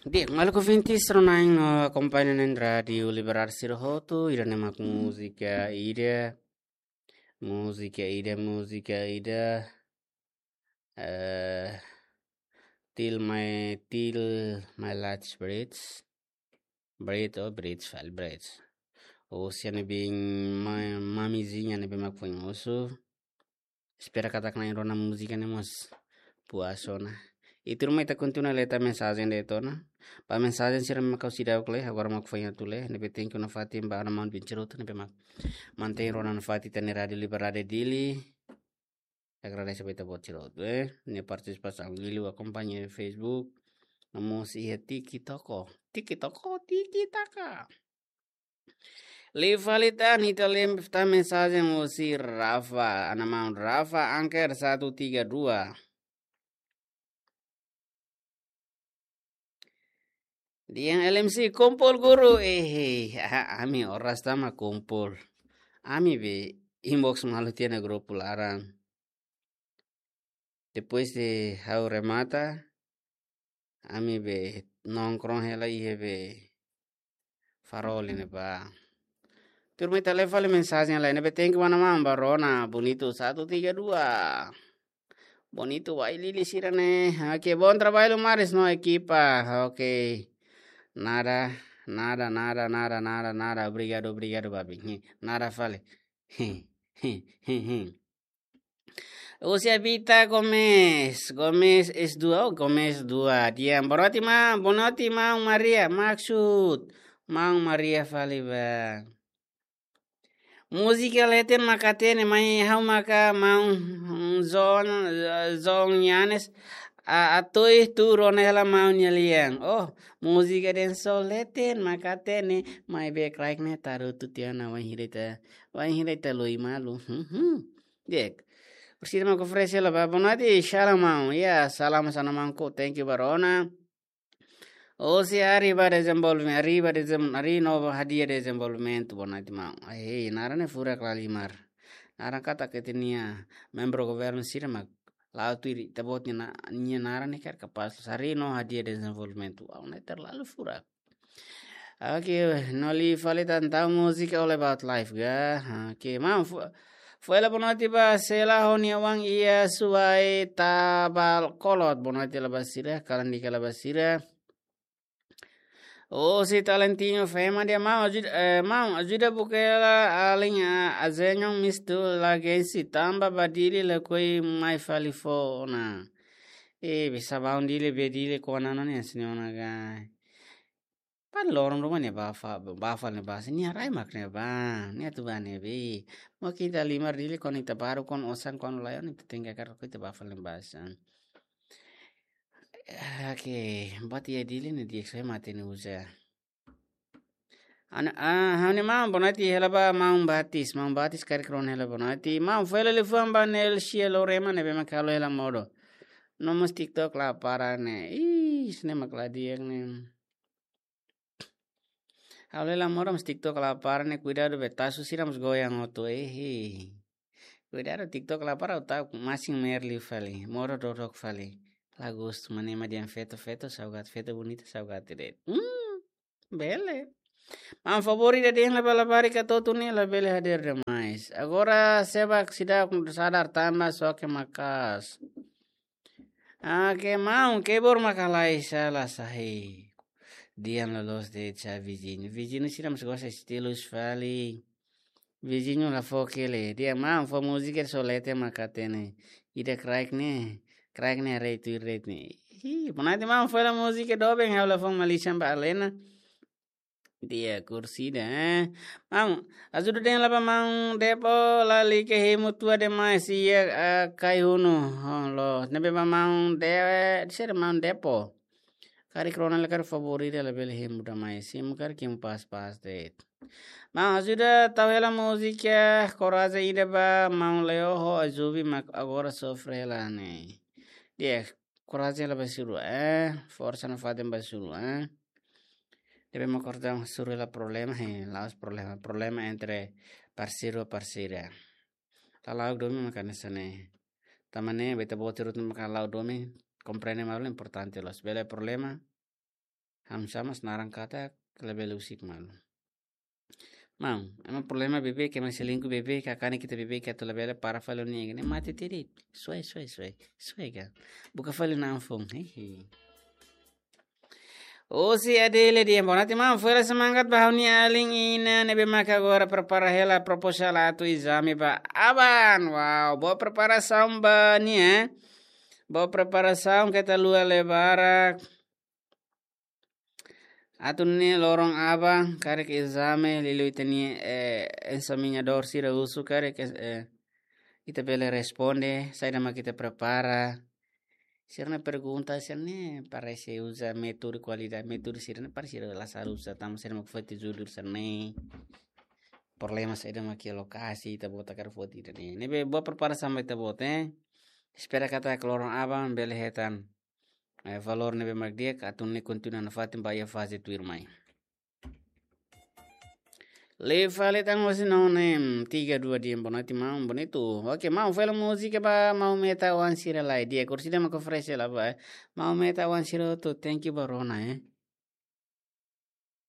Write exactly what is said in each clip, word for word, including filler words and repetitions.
Di'ak, maluk ouvintes, rona-na'in no akompaña na'in Rádiu Liberdade sira hotu, ida-ne'e mak múzika ida, múzika ida, múzika ida, eh, Till My, Till My Last Breath, Breath, oh, Breath, fali Breath. Husi ne'ebé, ma-, Mamizinha ne'ebé mak foin husu. Espera katak na'in rona múzika ne'e mós puas ona. I tuirmai ita kontinua lee ita mensajen de'it ona. Ba mensajen sira mak ha'u seidauk lee, agora mak foin atu lee. Ne'ebé thank you nafatin ba ana-maun Vinceroto ne'ebé mak mantein rona nafatin ita-nia Rádiu Liberdade Dili. Agradese ba ita-boot sira hotu, eh. Nia partisipasaun liuliu akompaña Facebook. No mós iha TikTok. TikTok, TikTok. Liu fali tan, ita lee tan mensajen husi Rafa, ana-maun Rafa Anker satu tiga dua. Dehan L M C kumpul guru, eh, ah, ami oras tama kumpul. Ami be inbox malu tiha ona grupu laran. Depois de ha'u remata, ami be nongkrong hela iha be Farol ne'ebá. Tuirmai ita lee fali mensajen lain ne'ebé thank you ba ana-maun ba rona, Bonito satu tiga dua. Bonito wai lili sira ne'e. Oke, bom trabalho Maris no ekipa. Oke. Nada, nada, nada, nada, nada, nada. Obrigadu, obrigadu, babi. Nada fali. Husi Abita Gomes, Gomes S dua, oh, Gomes dua. Dehan, boa noite, maun, boa noite, maun Maria, maksud maun Maria fali ba. Múzika leten mak hatene, mai ha'u maka maun, mm, Zon, Zon Yanes, a, atu ih tu rona hela maun nia lian. Oh, múzika den so leten mak hatene, maibé kraik ne'e tarutu tiha ona wainhira ita, wainhira ita loi malu. Hmm, hmm. Di'ak. Orsida mak oferese hela ba, boa noite, shalom maun. Ya, salam sana mangko, thank you ba rona. Husi Arriba Desenvolvimento, Arriba Desem-, Arriba Nova Hadiah Desenvolvimento, boa noite maun. Ai, naran ne'e furak lahalimar. Naran katak ita-nia membru governu sira mak la'o tuir ita-boot nia na-, nia naran ne'e kaer kapás. Arriba Nova Hadiah Desenvolvimento. Wow, ne'e terlalu furak. Oke, no liu fali tan tau múzika All About Life ka. Oke, maun, fo-, foin hela boa noite ba Sela ho nia oan iha Suai Tabal Kolot. Boa noite hela ba sira, kalan di'ak hela ba sira. Husi Talentino Fema dehan maun ajuda, eh, maun ajuda buka hela alin, ah, azeñon mistu lagensi tanba ba Dili lakohi mai fali fó ona. Eh, bisa maun Dili be Dili kona no ne sini ona gai. Pan loron ruma ne'e ba fa-, ba fali ne'e ba, sini arai mak ne'e ba, ne'e atu ba ne'e be. Mo kita limar Dili kon ita baru kon osan kon layon ita tenke kar ko ita ba fali ne'e ba san. Oke, buat iha Dili ne'e di'ak sai mate ne'e uza. Ana, ah, ha'u-nia maun boa noite hela ba maun Batis, maun Batis karik rona hela boa noite. Maun foin hela liafuan ba Nelsia Lorema ne'ebé mak halo hela modo. No mós TikTok la para ne'e. Ih, sini mak la di'ak ne'e. Halo hela modo mós TikTok la para ne'e, kuidadu be tasu sira mós goyang hotu, eh. Kuidadu TikTok la para utak masin mer liu fali, modo dodok fali. Lagus mane ma dehan feto, feto saugat, feto bonita saugat de'it. Hmm, bele. Maun favór ida dehan la bala bari ka totu ne'e labele hadeer demais. Agora seba seidauk sadar tanba xoke maka'as. Ah, ke maun, keyboard mak halai sala sahi. Dehan loloos de'it sa viziñu. Viziñu sira mós gosta estilus fali. Viziñu la fó kele. Dehan maun fó múzika so leten mak hatene. Ida kraik ne'e. Kraik ne'e rei tu rei ne'e. Hi, boa noite maun foin hela múzika doben ha'u la fó malisan ba Alena. Di'ak, kursida, eh. Maun, ajuda dehan la ba maun Depo, lalika hemu tua demais iha, ah, Kaihunu. Oh, loos. Ne'ebé ba maun De-, sira maun Depo. Karik rona la karik favór ida labele hemu demais. Hemu karik hemu pas-pas de'it. Maun, ajuda tau hela múzika, korajen ida ba maun Leo ho Azubi mak agora sofre hela ne'e. Di'ak, korajen hela ba sira, eh. Forsa nafatin ba sira, eh. Debe me acordar un suru la problema, eh, la'ós problema. Problema entre parseiru ho parseira. Lala'ok domin mak hanesan ne'e. Tanba ne'e, ba ita-boot sira hotu mak lala'ok domin, komprende malu importante loos. Bele problema, Hamsa mas naran katak labele husik malu. Maun, ema problema beibeik, ema selingkuh beibeik, kakane kita beibeik, atu labele para fali nia, ne'e mate tiri. Suai, suai, suai. Suai ka. Buka fali na'an foun. Hehe. Husi Adele dehan, boa noite maun, foin hela semangat ba ha'u-nia alin Ina, ne'ebé maka agora prepara hela proposal atu ezame ba aban. Wow, boa preparasaun ba nia. Boa preparasaun keta haluha lee barak. Atu nune'e loron aban, karik ezame, liuliu ita-nia, eh, ensamiñadór sira husu, karik, eh, ita bele responde, saida mak ita prepara. Sira-nia pergunta, sira-ne'e parese uza métodu kualidade, métodu sira-ne'e parese sira la saru uza, tanba sira mak foti judul sira-ne'e. Problema saida mak iha lokasi, ita-boot hakarak foti ida-ne'e. Ne'ebé boa preparasaun ba ita-boot, eh. Espera katak loron aban bele hetan, eh, valór ne'ebé mak di'ak, atu nune'e kontinua nafatin ba iha faze tuirmai. Lee fali tan hosi nona, em, tiga dua dehan, boa noite maun, bonitu. Oke, maun, fó hela múzika ba maun Meta oan sira lai. Di'ak, orsida mak oferese hela ba, eh. Maun Meta oan sira hotu, thank you ba rona, eh.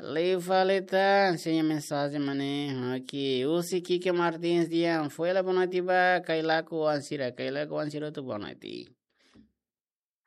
Lee fali tan, sira-nia mensajen mak ne'e. Oke, husi Kike Martins dehan, fó hela boa noite ba Kailaku oan sira, Kailaku oan sira hotu boa noite.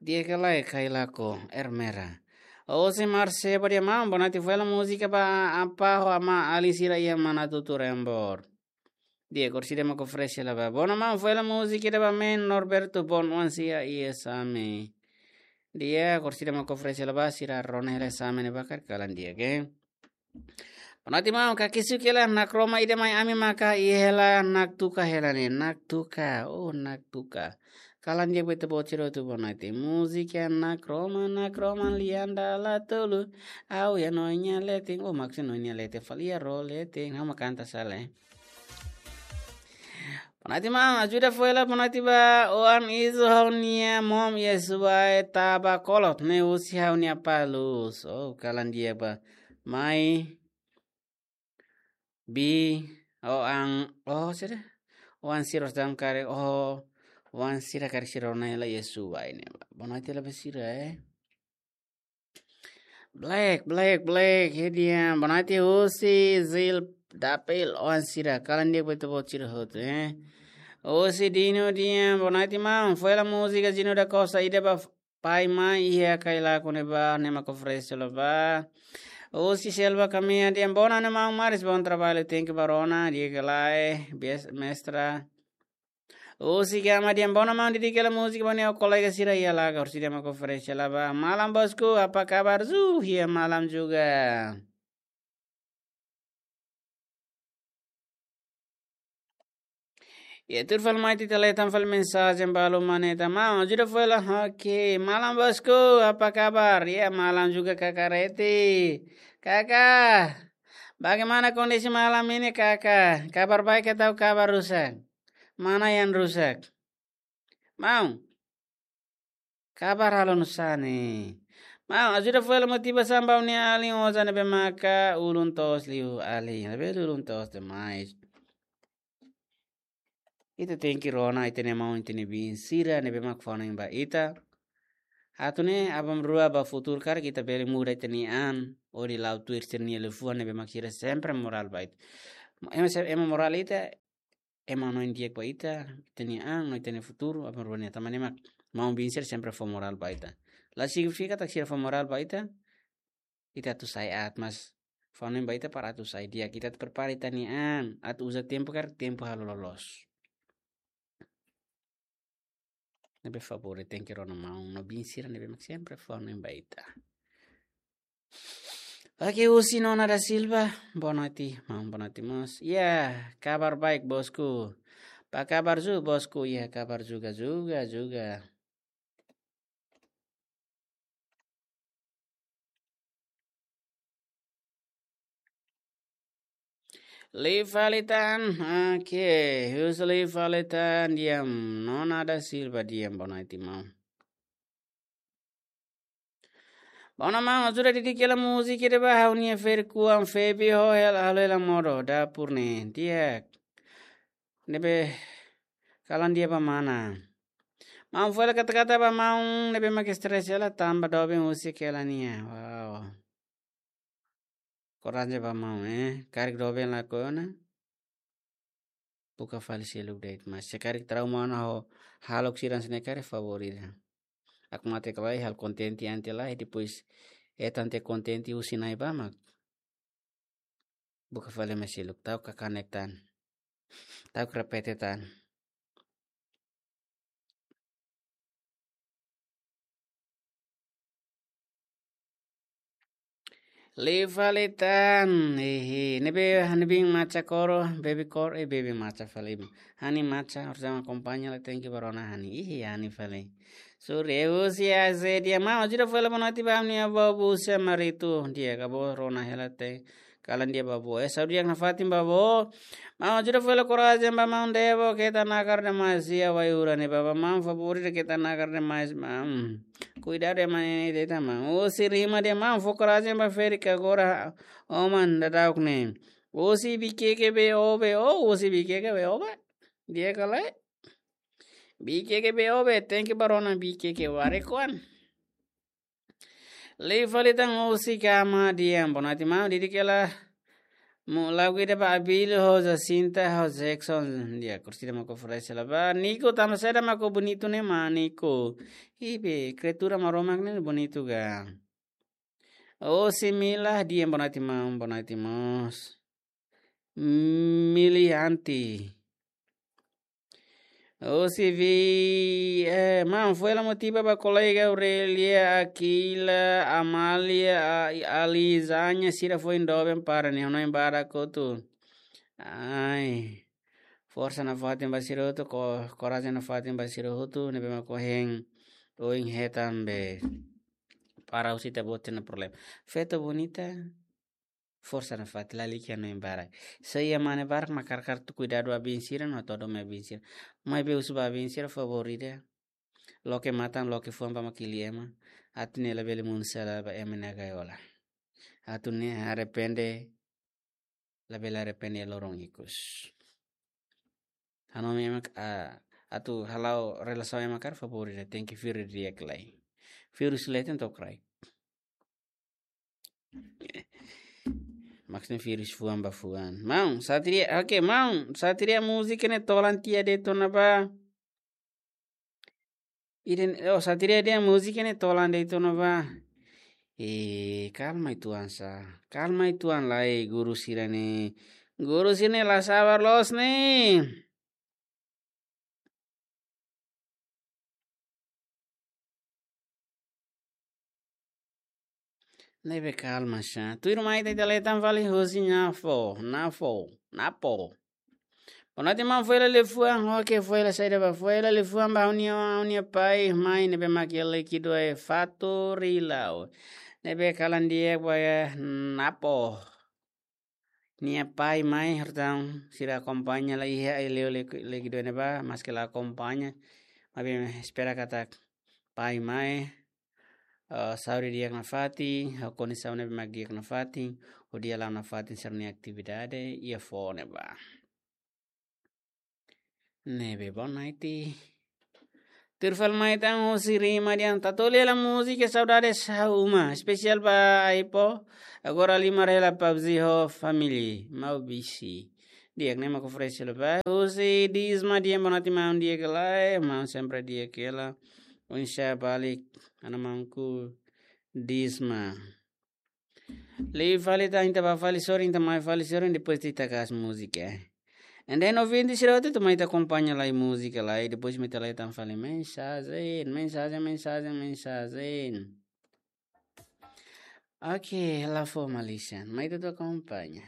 Di'ak ka lae Kailaku, Ermera? Husi Marseba dehan, maun, boa noite, fó hela múzika ba apá ho amá alin sira iha Manatuto Rembor. Di'ak, orsida mak oferese hela ba. Boa noite maun, fó hela múzika ida ba men Norberto Bon oan sira iha Same. Di'ak, orsida mak oferese hela ba, sira rona hela Same ne'ebá karik kalan di'ak, eh. Boa noite maun, kakisuk hela, Nakroma ida mai ami maka iha hela, Naktuka hela ne'e, Naktuka, oh, Naktuka. Kalan di'ak ba ita-boot sira hotu, boa noite. Múzika Nakroma, Nakroma lian dala tolu, ha'u iha Noin nia leten, oh, maksud Noin nia leten, fali iha ró leten, ha'u mak kanta sala, eh. Boa noite maun, ajuda fó hela boa noite ba oan isu ha'u-nia mom iha Suai Tabakolot, ne'e husi ha'u-nia apá Luz. Oh, kalan di'ak ba. Mai, bi, oan, oh, sira. Oan sira hosi dam karik, oh, oan sira karik sira rona hela iha Suai ne'ebá. Boa noite hela ba sira, eh. Black, Black, Black, he dehan, boa noite husi Zil Dapil oan sira, kalan di'ak ba ita-boot sira hotu, eh. Husi Dino dehan, boa noite maun, fó hela múzika Zino da Costa ida ba pai mai iha Kailaku ne'ebá, ne'e mak oferese hela ba. Husi Selva Kamea dehan, boa noite maun Maris, bom trabalho, thank you ba rona, di'ak ka lae, bias-, mestra. Husi Gama dehan, boa noite maun, dedika hela múzika ba nia kolega sira iha Laga, orsida mak oferese hela ba. Malam bosku, apa kabar? Zu, iha malam juga. Iha tuir fali mai ita lee tan fali mensajen balu mak ne'e tan, maun, ajuda fó hela, oke. Malam bosku, apa kabar? Iha malam juga, Kaka Reti. Kaka, bagaimana kondisi malam ini, Kaka? Kabar baik atau kabar rusak? Mana yang rusak? Maun, kabar halo nusá ne'e? Maun, ajuda fó hela motivasaun ba ha'u-nia alin osan ne'ebé maka ulun toos liu, alin. Ne'ebé ulun toos demais. Ita tenke rona ita-nia maun, ita-nia biin sira ne'ebé mak fó hanoin ba ita. Atu nune'e aban-bainrua ba futuru karik ita bele muda ita-nia an, hodi la'o tuir sira-nia liafuan ne'ebé mak sira sempre morál ba ita. Ema se-, ema morál ita, ema hanoin di'ak ba ita, ita-nia an, no ita-nia futuru, aban-bainrua nia. Tanba ne'e mak maun biin sira sempre fó morál ba ita. La signifika katak sira fó morál ba ita, ita atu sai aat, mas fó hanoin ba ita para atu sai di'ak, ita atu prepara ita-nia an, atu uza tempu karik tempu halo loloos. Ne'ebé favór, tenke rona maun no biin sira ne'ebé mak sempre fó hanoin ba ita. Oke, husi Nona da Silva, boa noite, maun, boa noite mós. Ya, kabar baik, bosku. Apa kabar juga, bosku? Ya, kabar juga, juga, juga. Lee fali tan, oke, husi Lee fali tan, di'ak, Nona da Silva, di'ak, boa noite maun. Boa noite maun, ajuda dedika hela múzika ida ba ha'u-nia ferik-oan Febi ho hela, halo hela modo dapur ne'e, di'ak. Ne'ebé kalan di'ak ba mana? Maun foin la kata-kata ba maun ne'ebé mak stress hela tanba doben husik hela nia. Wow. Korajen ba maun, eh. Karik doben lakohi ona. Buka fali seluk de'it, mas se karik trauma ona ho hahalok sira hanesan ne'e karik favór ida. Hakmatek lai, halo kontente an tiha lai, depois hetan tiha kontente husi Na'i ba mak buka fali mai seluk, ta'uk kakanek tan. Ta'uk repete tan. Liu fali tan, ihi, ne'ebé hanesan bin maca koro, baby koro, eh, baby maca fali. Hanesan maca, harus akompaña la tenke ba rona hanesan, ihi, hanesan fali. Sure, husi A Z dia, maun, ajuda fali bonoite ba ha'u-nia avó busa maritu, di'ak, avó rona hela te, kalan di'ak ba avó. Eh, saúde di'ak nafatin ba avó. Maun, ajuda fali korajen ba maun Debo, keta nakar demais iha wai-ura ne'ebá ba maun, favór ida keta nakar demais, maun. Kuidadu ema ne'e de'it maun. Husi Rima dia maun, fó korajen ba Férica agora, oman daudauk ne'e. Husi Bikeke B O B O, husi Bikeke B O B. Di'ak ka lae? Bikeke B O B, tenke ba rona Bikeke warek oan. Liu fali tan husi Kama dia, bonoite maun, didik hela. Mu lagu ida ba Abílio ho Jacinta ho Jackson dia, kursi ida mak oferese hela ba. Nico, tanba saida mak bonitu ne'e maun Nico? Ibe, kriatura Maromak ne'e bonitu ga. Husi Mila dia, bonoite maun, bonoite mós. Milianti. Husi vi, eh, maun, foin la motiva ba kolega Aurelia, Aquila, Amália, a-, Alizanya, sira foin doben para nia, hanoin barak hotu. Ai. Forsa nafatin ba sira hotu, ko-, korajen nafatin ba sira hotu, ne'ebé mak ohin, ohin hetan be. Para husi ita-boot nia problema. Feto bonita. Forsa nafatin, lalika hanoin barak. Se iha mane barak mak hakarak atu kuidadu ba biin sira no atu hadomi ba biin sira. Maibé husu ba biin sira favór ida. Loke matan, loke fuan ba mak hili ema. Atu nune'e labele monu sala ba ema nia gaiola. Atu nune'e arrepende, labele arrepende loron ikus. Hanomi ema, ah, atu hala'o relasaun ema karik favór ida, tenke firme di'ak lai. Vírus leten to'o kraik. Maksudnya vírus fuan ba fuan. Maun, Satria, oke, maun, Satria múzika ne'e tolan tiha de'it ona ba. Iden, oh, Satria dia múzika ne'e tolan de'it ona ba. Eh, kalma uitoan sá. Kalma uitoan lai, guru sira ne'e. Guru sira ne'e la sabar loos ne'e. Ne'ebé kalma sá. Tuirmai ita, ita leten fali husi Nafo, Nafo, Napo. Bonoite maun, foin la liafuan, oke, foin la saida ba, foin la liafuan ba ha'u-nia, ha'u-nia pai, mai, ne'ebé mak iha Líquido e Fato Rilao. Ne'ebé kalan di'ak ba iha Napo. Nia pai mai, hortaun sira akompaña lai iha ai leo le, Líquido ne'ebá, maske la akompaña. Maibé espera katak pai mai, eh, saúde di'ak nafatin, ho kondisaun ne'ebé mak di'ak nafatin, hodi hala'o nafatin sira-nia atividade iha foho ne'ebá. Ne'ebé bonoite. Tuir fali mai tan husi Rima dia, Tatoli hela múzika Saudades Ha'u Uma, espesiál ba Aipo. Agora halimar hela PUBG ho família, Maubisi. Di'ak, ne'e mak oferese hela ba. Husi Disma dia, bonoite maun, di'ak ka lae, maun sempre di'ak hela. Oinsá balik, ana maunku Disma. Liu fali tan, ita bá fali sorin, ita mai fali sorin, depois ita kaas múzika. And then ouvinte sira hotu, ita mai ita akompaña lai múzika lai, depois mai ita leten fali mensajen, mensajen, mensajen, mensajen. Oke, la fó malisan, mai ita akompaña.